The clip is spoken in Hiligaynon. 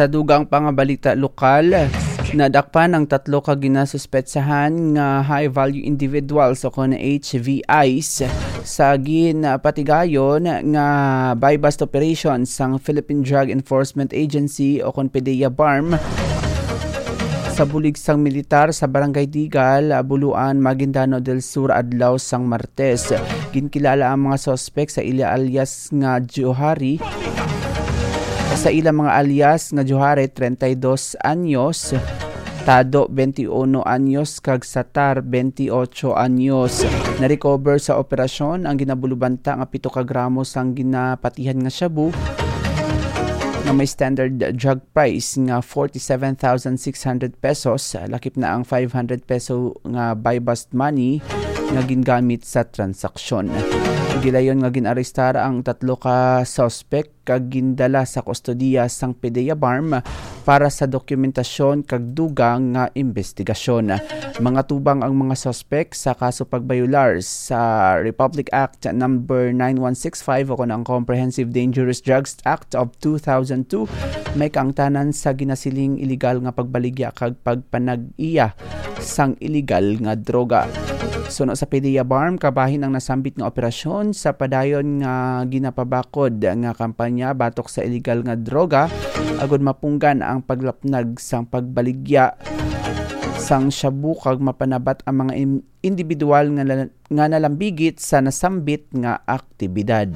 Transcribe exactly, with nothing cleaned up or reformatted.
Sa dugang pa nga balita lokal, nadakpan ang tatlo ka ginasuspetsahan nga high-value individuals o kon H V Is sa ginpatigayon nga buy-bust operation sang Philippine Drug Enforcement Agency o kon PDEA BARMM sa bulig sang militar sa Barangay Digal, Buluan, Maguindanao del Sur, adlaw sang Martes. Ginkilala ang mga suspek sa ila alias nga Johari, sa ila mga alias nga Johari, treinta y dos anyos, Tado, twenty-uno anyos, kag Satar, twenty-ocho anyos. Narecover sa operasyon ang ginabulubanta nga pito ka gramo sang ginapatihan nga shabu nga may standard drug price nga forty-seven thousand six hundred pesos, lakip na ang five hundred peso nga buy-bust money nga gingamit sa transaksyon. Gilayon nga gin-arestar ang tatlo ka suspect kag gindala sa kustodiya sang PDEA BARMM para sa dokumentasyon kag dugang nga investigasyon. Mangatubang ang mga suspek sa kaso pagbayolar sa Republic Act Number nine one six five o kon ang Comprehensive Dangerous Drugs Act of two thousand two, may kaangtanan sa ginasiling iligal nga pagbaligya kag pagpanag-iya sang iligal nga droga. Suno sa PDEA BARMM, kabahin ang nasambit nga operasyon sa padayon nga ginapabakod nga kampanya batok sa iligal nga droga, agud mapunggan ang paglapnag sang pagbaligya sang shabu kag mapanabat ang mga im-, individual nga la-, nga nalambigit sa nasambit nga aktibidad.